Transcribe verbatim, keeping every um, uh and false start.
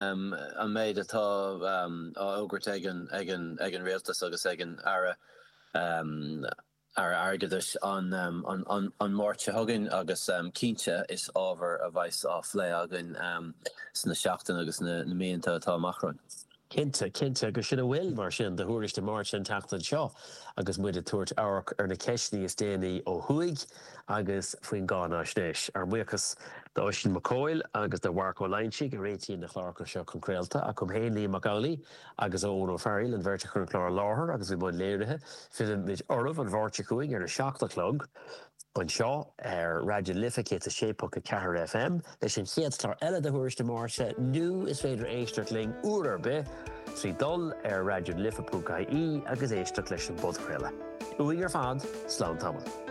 an méid atá á fhógairt ag an ag an ag an rialtas agus ag an Aire Aire Airgeadais an an an Máirt seo chugainn agus cinnte is ábhar a bheas á phlé againn sna seachtainí agus na míonna atá amach romhainn. Cinnte, cinnte agus sin a bhfuil mar sin de Thuairisc Dé Máirt an tseachtain seo agus muid ag tabhairt amharc ar na ceisteanna is déanaí ó thuaidh agus faoin gcáinaisnéis. Ár mbuíochas d'Oisín Mac Cóil agus do Mharc Ó Loingsigh a réitíonn na cláracha seo chun craolta ach uaim féin Liam Mac Amhlaigh agus Eoin Ó Fearghail an bheirt a chuir an clár i láthair agus i mbun léirithe. Fillfimid oraibh an Mháirt seo chugainn ar a seacht a chlog. Anseo ar Raidió na Life céad a sé ponc a ceathair FM leis an chéad chlár eile de Thuairisc Dé Máirt nó is féidir éisteacht linn uair ar bith trí dul ar raidió na life ponc ie agus éisteacht leis an bpodchraoladh. Uainn ar fad, slán tamall.